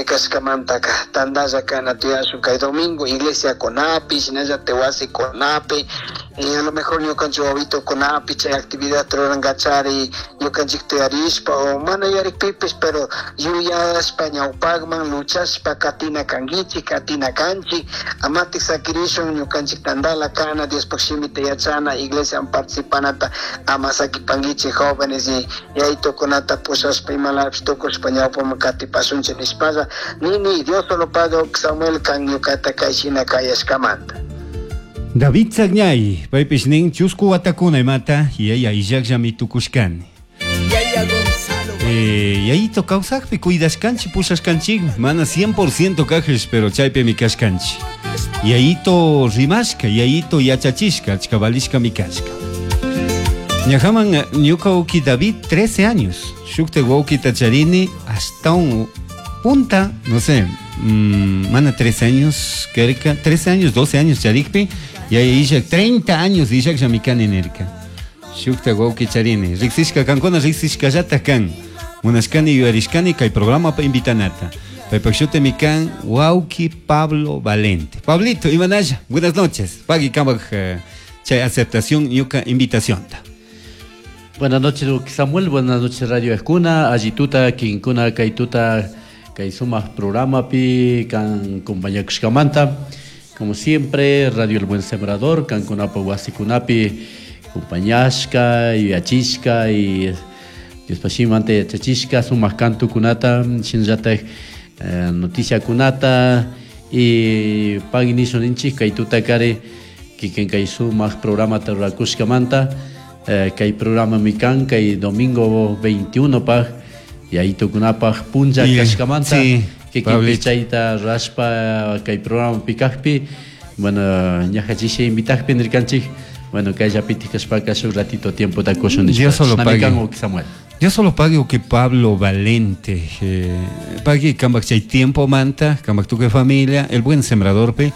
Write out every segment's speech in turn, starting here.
Kashkamantaca tandalla kana tiyashun kay domingo iglesiakunapi, shinallatak wasikunapi, a lo mejor ñukanchik wawitukunapi chay actividad rurankachari ñukanchikta yarishpa o mana yarikpipish, pero yuyashpa ñawpakman luchashpa katina kankichik, katina kanchik, amatik sakirishun ñukanchik tandala kana, Diospaj shimita yachana, iglesiaman participanata ama sakipankichik jóvenes y yayitukunata pushashpa imalapish tukushpa ñawpaman katipashunchik nishpalla nini. Dios solo paga, Samuel, kan ñukata kay shina kayashkamanta. David Sagñay, paypish nin chusku watakuna imata yaya illakllami tukushkani. Yayito kawsakpi cuidashkanchik, pushashkanchik, mana 100% kajish, pero chaypimi kashkanchik. Yayito rimashka, yayito yachachishka, achka valishkami kashka. Ñajaman ñuka wawki David 13 años, shukta wawkita charini hasta un punta, no sé, mana 13 años, karka, 13 años, 12 años charikpi, yaya illak 30 años illakllami kani nirka. Shukta wawki charini, riksishka kankuna riksishkallatak kan. Munashkani yuyarishkani kay programapa invitanata. Paypak shutimi kan wawki Pablo Valente. Pablito, imanalla, buenas noches. Pagui kamak chay aceptación ñuka invitacionta. Buenas noches, Samuel. Buenas noches, Radio Escuna. Allituta, Kinkuna, Kaituta, kay sumak programa pi kan compañakushkamanta. Como siempre, Radio El Buen Sembrador, kankunapa wasikunapi compañashka, yuyachishka y Diospa shimimanta yachachishka, sumak kantukunata, shinallatak noticiakunata y pagui nishun ninchik kay tutakari kikin kay sumak programata rurakushkamanta. Kay programa mi kan kay domingo 21 paj yayitukunapaj punlla kashkamanta, kikin Pablito. Chayta rurashpa kay programa pikajpi, bueno, ñajachishi invitajpi nirkanchik, bueno, kayllapitik kashpaka shuk ratito tiempota kushun nishpa. Dios solo Chashnami pague. kan, Uki Samuel. Dios solo pague que Pablo Valente, pague kambak chay tiempo manta, kambak tuque familia, el buen sembrador pe,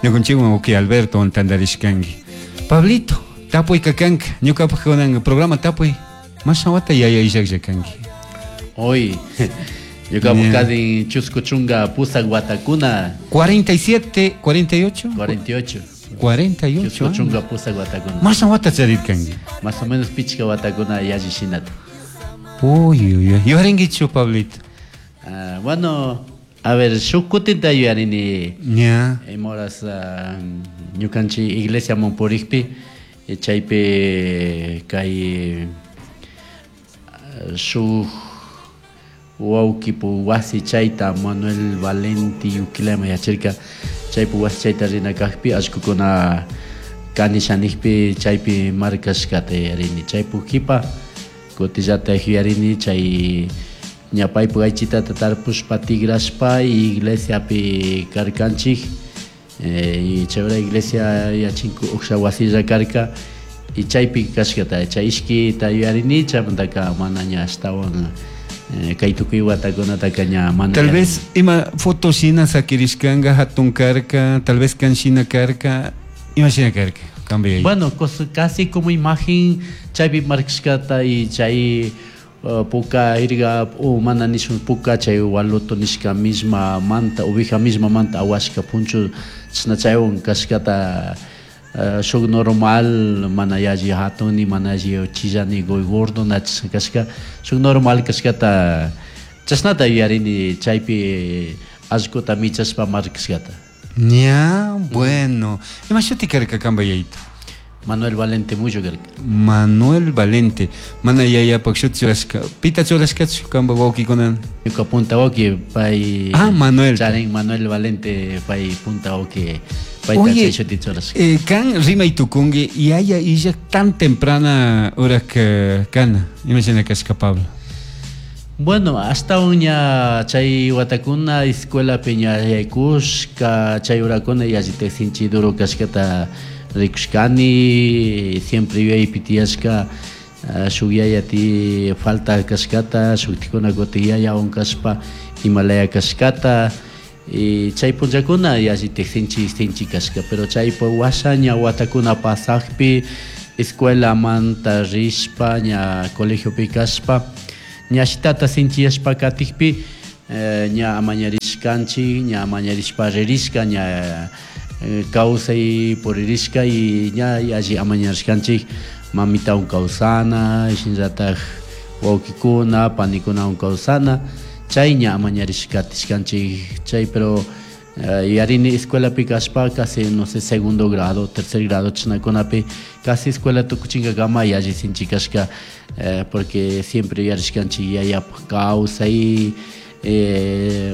ñukanchikwan uki Alberto antandarishkanki. Pablito, tapuy kakanka, ñukapak kunan programa tapuy, mashawata yaya illaklla kanki. Hoy, ñukapak kadin chusku chunka pusak watakuna. 47, 48? 48. 48 Chusku chunka pusak watakuna. Mashawata charirkanki. Más o menos pichka watakuna yalli shinata. Uy, uy, uy. Yuyarinkichu, Pablito? Ah, bueno, a ver, shuk kutinta yuyarini. Ña. Moras, ñukanchik iglesia monpurikpi, chaypi kay, shuk wawkipu wasi chayta Manuel Valenti Yuquilema yachirka, chaypu wasi chayta rina kajpi allkukuna kanishanikpi chaypi markashkata yuyarini, chaypu kipa kutillata yuyarini chay ñapaypu aychitata tarpushpa tigrashpa iglesiapi karkanchik, y chay iglesia yachinku uksha wasilla karka y chaypi kashkata chay ishkita yuyarini, chaymantaka mana ña ashtawan, kay tukuy watakunataka ña mana Tal yuyarini. vez ima foto shina sakirishkanga hatun karka, tal vez kan shina karka, ima shina karka, cambia ahí. Bueno, casi como imagen chaypi markashkata y chay, puka irga o mana nishun puka chay waloto nishka misma manta, ovija misma manta awashka punchu chashna chaywan kashkata, shuk normal mana yalli hatuni, mana yalli chillani goy gordo na chashna kashka, shuk normal kashkata chashnata yuyarini chaypi allkuta michashpa markashkata. Ña, bueno. Ima shuti karka kamba yayito? Manuel Valente Muyo karka. Manuel Valente. Mana yayapak shuti churashka. Pita churashkachu kamba wawkikunan? Ñuka punta wawki pay. Ah, Manuel. Charin Manuel Valente pay punta wawki. Payta Oye, chay shuti churashka. Kan rimay tukunki yaya illak tan temprana hora que kana. Imagina kashka Pablo. Bueno, hasta uña chay watakuna escuela peña yaykushka chay urakuna yallitak sinchi duro kashkata rikushkani, siempre yuyaypi tiyashka, shuk yaya ti falta kashkata, shuktikuna kutin yaya unkashpa imalaya kashkata, y chay punllakuna yallitak sinchi sinchi kashka, pero chaypa washa ña watakuna pasakpi escuela manta rishpa ña colegiopi kashpa ñashitata sinchiyashpa katikpi, Ña amañarishkanchik, ña amañarishpa ririshka, ña kawsay puririshka y ña alli amañarishkanchik mamitawan kawsana, shinallatak wawkikuna, panikunawan kawsana, chay ña amañarishka katishkanchik chay. Pero yarini escuelapi kashpa, casi, no sé, segundo grado, tercer grado chashnakunapi, casi escuela tukuchinkakama yalli sinchi kashka, porque siempre yuyarishkanchik yayapuk kawsay,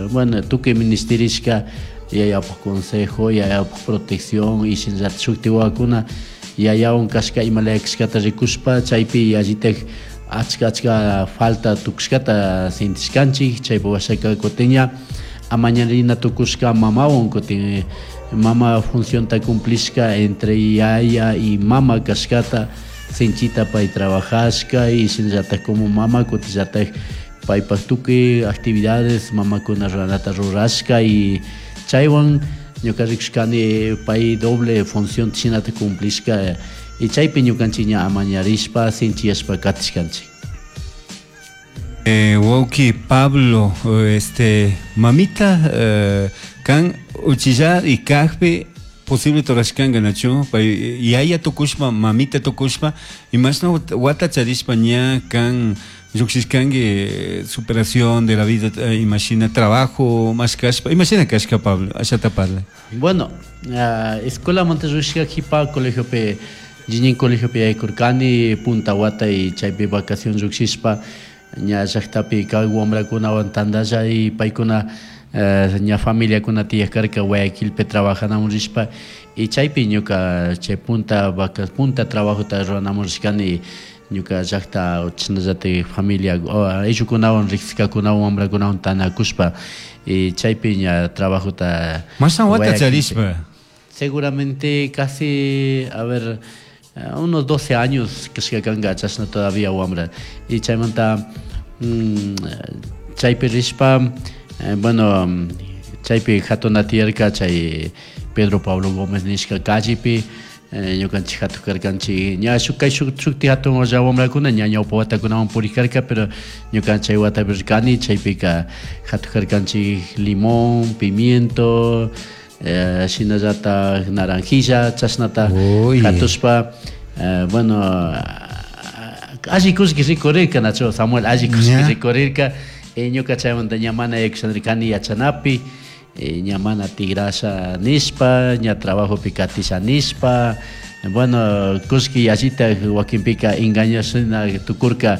bueno, tukuy ministirishka yayapuk consejo, yayapuk protección y shinallatak shukti wawakuna yayawan kashka imalaya kashkata rikushpa, chaypi yallitak achka achka falta tukushkata sintishkanchik. Chaypi washaka kutin ña amañarina tukushka mamawan, kutin mama funcionta cumplishka entre yaya y mama kashkata, sinchita pay trabajashka y shinallatak como mama kutinllatak paypak tukuy actividades mamakuna ruranata rurashka. Y chaywan ñuka rikushkani pay doble función shinata cumplishka y chaypi ñukanchik ña amañarishpa sinchiyashpa katishkanchik. Wawki Pablo, mamita kan uchilla y kajpi posible torashkanga, nachu pay yaya tukushpa, mamita tukushpa, imashna wata charishpa ña kan llukshishkanki superación de la vida, imashina trabajo mashkashpa, imashina kashka, Pablo, ashata parla. Bueno, escuelamanta rurashka kipa colegiopi, Jiñin colegiopi yaykurkani punta wata y chaypi vacación llukshishpa ña llaktapi kak wambrakunawan tandalla y paykuna ña familiakuna tiyak karka Guayaquilpi trabajanamun rishpa y chaypi ñuka chay punta vaca punta trabajota ruranamun rishkani, ñuka llakta chashnallatik familia ayllukunawan riksishkakunawan wambrakunawan tanakushpa y chaypi ña trabajota. Mashna wata charishpa? Seguramente casi, a ver, unos 12 años kashka kanka, chashna todavía wambra. Y chaymanta chaypi rishpa, bueno, chaypi hatuna tiyarka chay Pedro Pablo Gómez nishka callepi, ñukanchik hatuk karkanchik ña shuk kay shuk shukti hatun olla wambrakuna ña ñawpa watakunawan purik karka, pero ñuka chay watapi rirkani, chaypika hatuk karkanchik limón, pimiento, shinallatak naranjilla, chashnata hatushpa, bueno, alli kullki rikurirka, nacho Samuel, alli kullki rikurirka. Ñuka chaymanta ña mana yaykushanirkani yachanapi, ña mana tigrasha nishpa, ña trabajopi katisha nishpa. Bueno, kullki yallita wakinpika engañashina tukurka,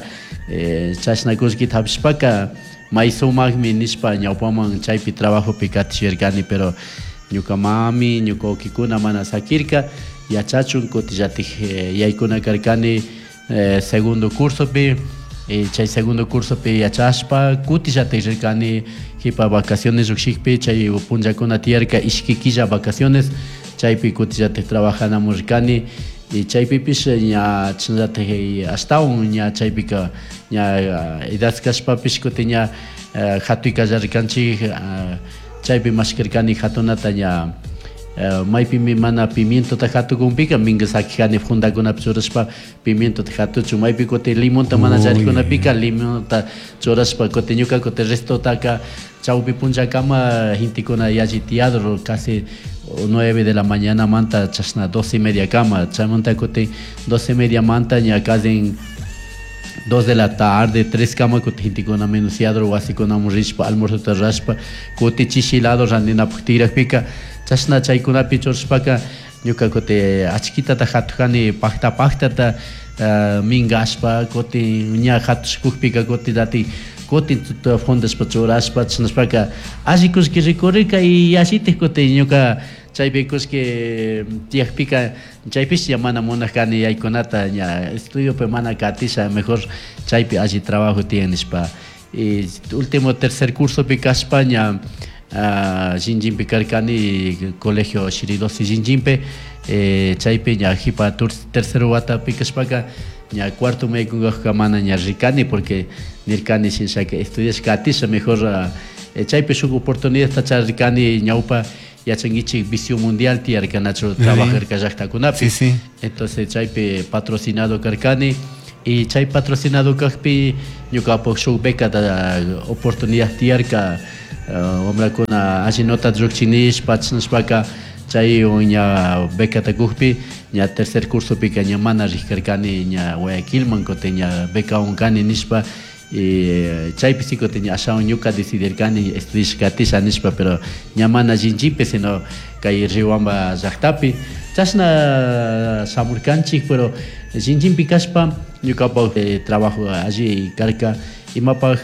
chashna kullkita hapishpaka may sumakmi nishpa ñawpaman chaypi trabajopi katishirkani, pero ñuka mami, ñuka wawkikuna mana sakirka yachachun. Kutillatik yaykuna karkani segundo cursopi, chay segundo cursopi yachashpa kutillatik rirkani jipa vacaciones llukshikpi, chay punllakuna tiyarka ishki killa vacaciones, chaypi kutillatik trabajanamun rirkani y chaypipish ña chashnallatik ashtawan ña chaypika ña edad kashpapish kutin ña hatuy kallarirkanchik, chaypi mashkarkani hatunata ña maypimi mana pimientota hatukunpika minka sakijani fundakunapi churashpa pimientota hatuchun, maypi kutin limonta mana charikunapika limonta churashpa, kutin ñuka kutin restotaka chawpi punllakama gentekuna yalli tiyador, casi 9 de la mañana manta chashna 12:30 kama, chaymanta kutin 12:30 manta ña casi 2 de la tarde, 3 kama kutin gentekuna menuciador wasikunamun rishpa almuerzota rurashpa kutin chishi lado randinapak tikrakpika, chashna chaykunapi churashpaka ñuka kutin achkitata hatukani pakta paktata minkashpa, kutin ña hatushkukpika kutin dati kutin fundashpa churashpa, chashnashpaka alli kullki rikurirka y yallitik kutin ñuka chaypi kullki tiyakpika chaypish ña mana munakani yaykunata, ña estudiopi mana katisha, mejor chaypi alli trabajo tiyan nishpa. Y último tercer cursopi kashpa ña Shinjinpi karkani, colegio Shiridosi Shinjinpi, chaypi ña jipa tercer watapi kashpaka ña cuarto maykunkajka mana ña rikani porque nirkani shinshaka estudiash katisha mejor, chaypi shuk oportunidadta charirkani. Ñawpa yachankichik Visión Mundial tiyarka, nachu, trabajarka llaktakunapi. Entonces chaypi patrocinado karkani. Y chay patrocinado kajpi ñukapak shuk becata oportunidad tiyarka, wambrakuna alli nota llukchinishpa chashnashpaka chay ña becata kukpi ña tercer cursopika ña mana rijkarkani ña Guayaquilman, kutin ña becawan kani nishpa. Y chaypi sí kutin ña ashawan ñuka decidirkani estudish katisha nishpa, pero ña mana Shinchipi sino kay Riobamba llaktapi chashna shamurkanchik. Pero Shinchimpi kashpa ñukapak trabajo alli karka, imapak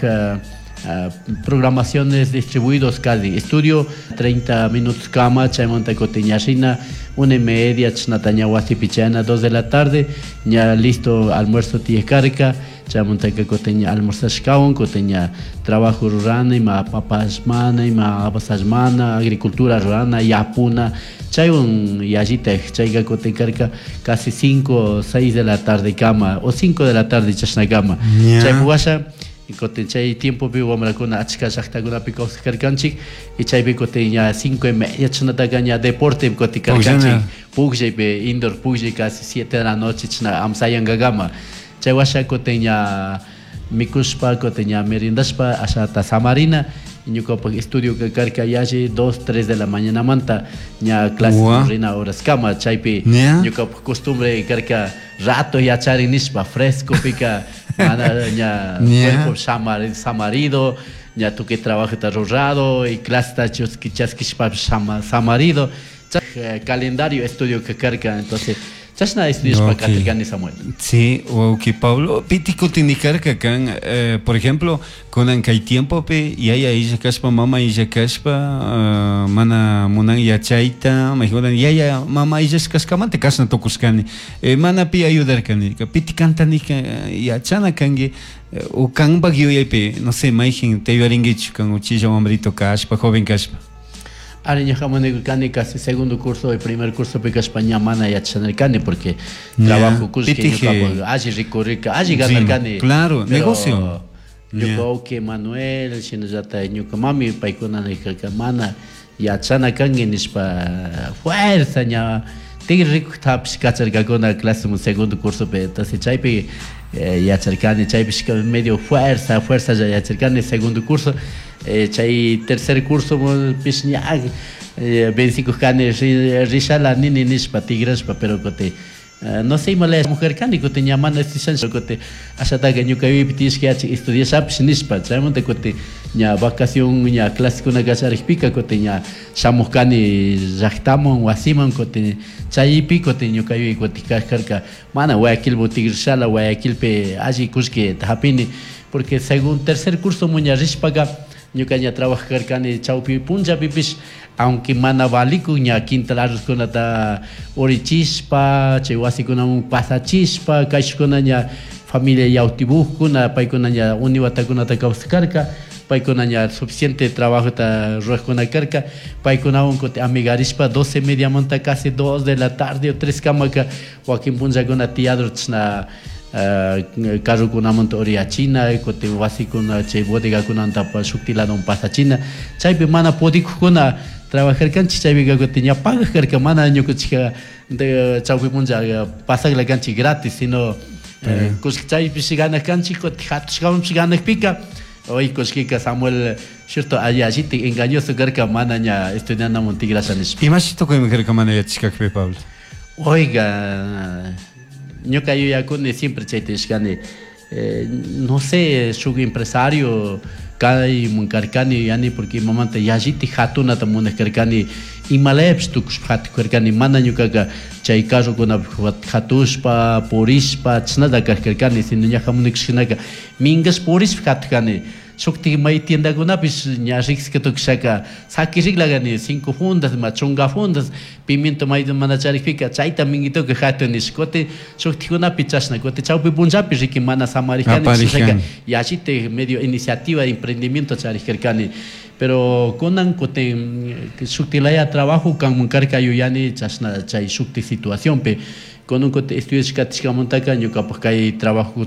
programaciones distribuidos casi estudio 30 minutos kama, chaymanta kutin ña rina 1:30 chashnata ña wasipi chayana 2 de la tarde ña listo almuerzo tiyak karka, chaymantaka kutin ña almorzashkawan kutin ña trabajo rurana, ima papasmana, ima abasashmana, agricultura rurana, yapuna, chaywan yallitaj chayka kutin karka casi 5 o 6 de la tarde kama o 5 de la tarde chashna kama. Chaypi washa kutin chay tiempopi wambrakuna achka llaktakunapi kawsarkanchik y chaypi kutin ña 5:30 chashnataka ña deporte kutin karkanchik, pukllaypi indoor pukllay casi 7 de la noche chashna amsayankakama. Chay washa kutin ña mikushpa kutin ña merendashpa ashata samarina, ñukapak estudio karka yalli 2, 3 de la mañanamanta ña clase rina horas kama. Chaypi ñukapak costumbre karka rato yachari nishpa fresco pika mana ña cuerpo samarido, ña tukuy trabajota rurado y clase chaskishpapish samarido. Calendario estudio karka, entonces chashna estudiashpa katirkani, Samuel. Sí, wawki Pablo, piti kutin karka kan, por ejemplo, kunan kay tiempopi yaya illa kashpa, mama illa kashpa, mana munan yachayta, mayjunan yaya mama illa kashkamanta kashna tukushkani, mana pi ayudarkani, piti kantanika yachana kanki, o kanpak yuyaypi, no sé, mayjin te ayudarinkichu kan uchilla wambrito kashpa, joven kashpa. Ari ñuka munaykurkani casi segundo curso y primer curso kashpa ña mana yachanarkani porque trabajo kullki ñukapak alli rikurrirka, alli ganarkani. Claro, negocio. Ñuka wawki Manuel shinallata ñuka mami paykuna nirkarka mana yachana kanki nishpa fuerza ña tigre rikuktapish kacharkakuna clase segundo cursopi. Entonces chaypi yacharkani, chaypish medio fuerza fuerza ya yacharkani segundo curso. Chay tercer curso pish ña vencikujkani rishala nini nishpa tigrashpa, pero kutin no sé ima laya mujer kani kutin ña mana estudiashan kutin ashataka ñuka yuyaypi tiyashka yachik estudiashapish nishpa. Chaymanta kutin ña vacación ña clasekuna kallarikpika kutin ña shamujkani llaktaman wasiman kutin chaypi kutin ñuka yuyay kutin kajkarka mana Guayaquilman tigrishala, Guayaquilpi alli kullkita hapini, porque según tercer curso muña rishpaka ñuka ña trabajarkani chawpi punllapipish, aunque mana valikun ña quintal arrozkunata urichishpa chay wasikunaman pasachishpa kayshukuna ña familia yawtibujkuna paykuna ña uni watakunata kawsarkarka, paykuna ña suficiente trabajota rurakuna karka, paykunawan kutin amigarishpa 12:30 manta casi 2 de la tarde o 3 kamaka wakin punllakuna tiyador chashna carrokunamanta uriyachina kutin wasikuna chay bodegakunanta shukti ladoman pasachina, chaypi mana pudikukuna trabajarkanchik chaypika kutin ña pagak karka, mana ñukanchikka chawpi punlla pasakla kanchik gratis, sino kullki chaypish ganak kanchik kutin hatushkawanpish ganakpika hoy kullkika Samuel cierto alli allitik engañoso karka mana ña estudianamun tigrasha nishpa. Imashi tukuyman karka mana yachashkakpi, Pablo? Oiga, ñuka yuyakuni siempre chayta nishkani, no sé, shuk empresario kayman karkani yuyani porque imamanta yallitik hatunata munak karkani, imalayapish tukushpa hatukarkani, mana ñukaka chay carrokunapi hatushpa purishpa chashnata karkarkani, sino ñaja munakshkinaka minkashpa purishpa hatukani. Shuktik may tiendakunapish ña riksika tukushaka sakiriklakani 5 fundas ma chunka fundas pimiento may mana charikpika chayta minkituka hatun nish kutin shuktikunapi chashna kutin chawpi punllapi riki mana samarikani chashnaka yallitik medio iniciativa de emprendimiento charikkarkani. Pero kunan kutin shuktilaya trabajo kanman karka yuyani chashna chay shuktik situacionpi kunan kutin estudiashkatishkamantaka ñukapak kay trabajo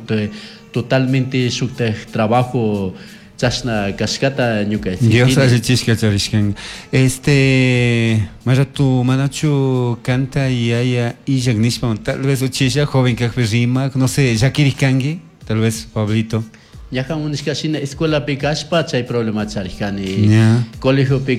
totalmente shuktak trabajo Chashna kashkata ñuka Dios allichishka charishkan. Este, maratu manachu kanta yaya illak nishpa, tal vez uchilla joven kakpi rimak, no sé, llakirik kanki, tal vez Pablito. Ñajan unishka shina escuelapi kashpa chay problema charishkani. Colegiopi.